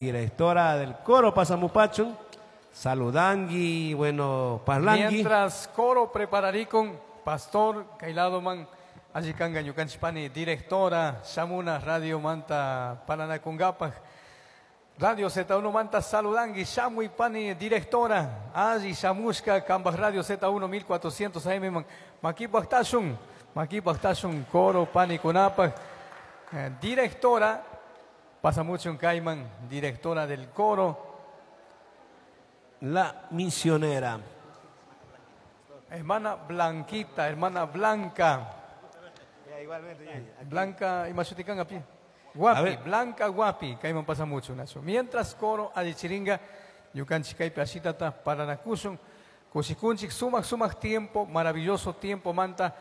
Directora del coro Pasamupachun, saludangui, bueno, parlangui. Mientras coro prepararikun, pastor Kailadoman, alli kanga ñukanchik directora Shamuna Radio Manta Paranakungapaj. Radio Z1 Manta saludangui, Shamuy pani directora, alli Shamushka, Kambaj Radio Z1 1400 AM, Makipaj Makipaj coro pani kunapaj. Directora, pasamuchun kayman, directora del coro. La misionera. Hermana Blanquita, hermana Blanca. Blanca, imashutikan api. Guapi, Blanca Guapi, kayman pasa mucho, Nacho. Mientras coro allichiringa, ñukanchik kaypi ashitata paranakushun, kushikunchik sumak sumak tiempo, maravilloso tiempo manta,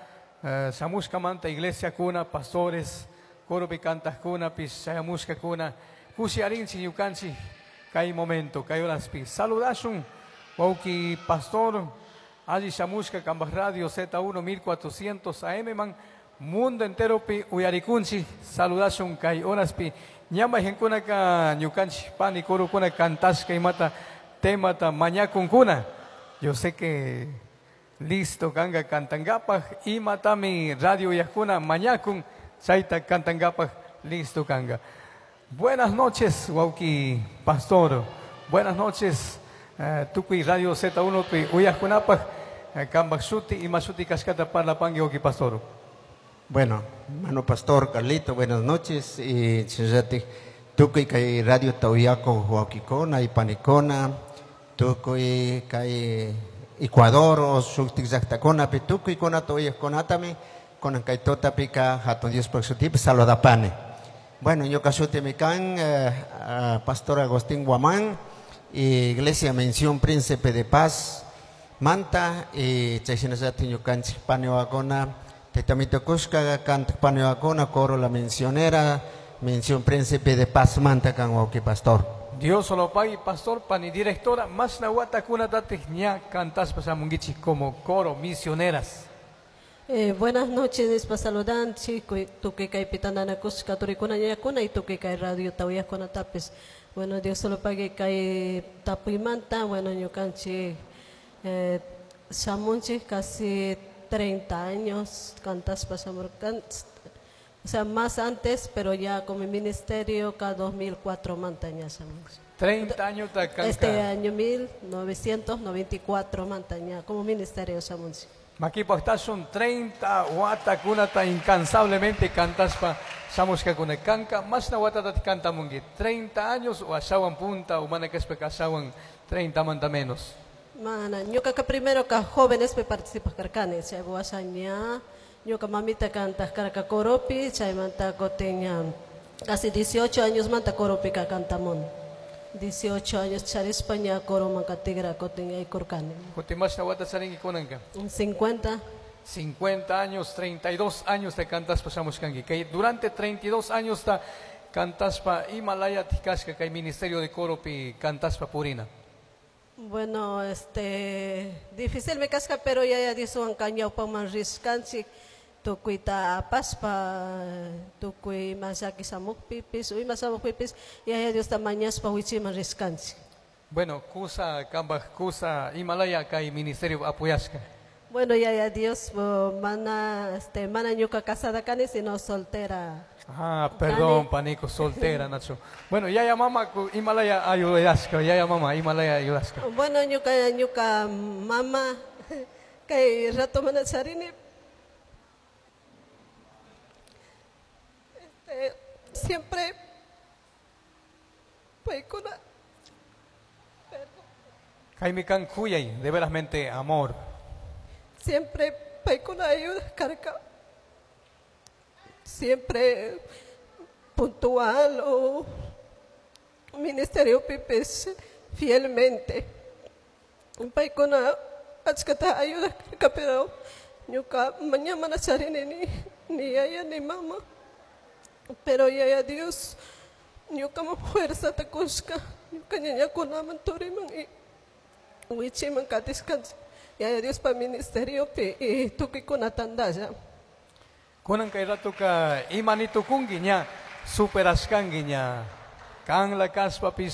shamushka manta iglesia kuna, pastores, coropi kantaqkuna, pis chayamushkakuna, kushiarinchik ñukanchik kay momento, kay horaspi. Saludashun, wawki pastor, alli shamushka kambaj Radio Z1 1400 AM man, mundo entero pi uyarikunchik, saludashun kay horaspi. Ñama mayjankunaka ñukanchik pani corokuna kantashka imata temata mañakunkuna. Yo sé que listo kanga kantangapaj, imatami radio uyajkuna mañakun, chayta kantangapaj listo kanga. Buenas noches, wawki pastor. Buenas noches, tukuy Radio Z1 pi uyajkunapaj, kambaj shuti ima shuti kashkata parlapanki wawki pastor. Bueno, hermano pastor Carlito, buenas noches. Y chayati tukuy kay Radio Tauyaco wawkikuna y panikuna, tukuy kay Ecuador o shuktik llaqtakuna pi tukuy kunata uyajkunatami kunan kay tutapika hatun Diospaj shutipi saludapani. Bueno, ñuka shutimi kan Pastor Agustín Guamán, y Iglesia Mención Príncipe de Paz, Manta, y chayshinallati ñukanchik paniwakuna, Taytamito kushka kantak paniwakuna, coro La Misionera, Mención Príncipe de Paz, Manta kan wawki pastor. Dios solo pague, pastor, pani directora, mashna watakunatatij ña kantashpa shamunkichik como coro misioneras. Buenas noches, nispa saludanchik, tukuy kaypi tantanakushka turikuna ñañakuna y tukuy kay radio tawiyajkunatapis. Bueno, Dios solo pague kay tapuymanta, bueno, ñukanchik, shamunchik casi 30 años kantashpa shamurkan, o sea, más antes, pero ya con mi ministerio cada 2004 manta ña shamunchik. 30 años ta kanka. Este año 1994 manta ña como ministerio shamunchik. Makipaj tashun 30 watakunata incansablemente kantashpa shamushkakuna kanka, mashna watatat kantamunki, 30 años o ashawan punta o mana kashpa ashawan 30 manta menos. Mana, ñuka primero ka jóvenes pe participa karkani, chay washa ña, ñuka mamita kantaq karka coropi, chaymanta kutin casi 18 años manta coropi ka kantamun. 18 años charispa ña coroman katigra kutin aykurkani. Kutin mashna wata charinki kunanka? 50. 50 años, 32 años te kantaspa shamushkanki. Kay durante 32 años ta kantaspa ima laya kashka kay ministerio de coropi kantaspa purina. Bueno, difícil me casca, pero ya ya Dioswan ñawpaman rishkanchik, tukuyta apashpa, tukuy ima llaki shamukpipis, o ima shamukpipis, yaya Diosta mañashpa wichiman rishkanchik. Bueno, kusa, kambaj kusa, ima laya kay ministerio apoyashka. Bueno, yaya Dios, mana, mana ñuka casada kani, sino soltera. Ah, perdón, Kani. panico, soltera, Nacho. Bueno, yaya mama, ima laya ayudashka, yaya mama, ima laya ayudashka. Bueno, ñuka mama, kay rato mana charini. Siempre paykuna. Jaime kan kuyay, de verasmente amor. Siempre paykuna ayuda karka. Siempre puntual o ministerio pipis fielmente. Paykuna achkata ayuda karka, pero ñuka mañana mana charini ni yaya ni mama. Pero yaya Dios, ñuka ma fuerza ta kushka, ñuka ñañakunaman turiman y wichiman katishkan. Yaya Dios pa ministerio pi y tukikuna tandalla. Kunan kay ratuka imani tukunki ña superashkanki ña. Kan la kaspapis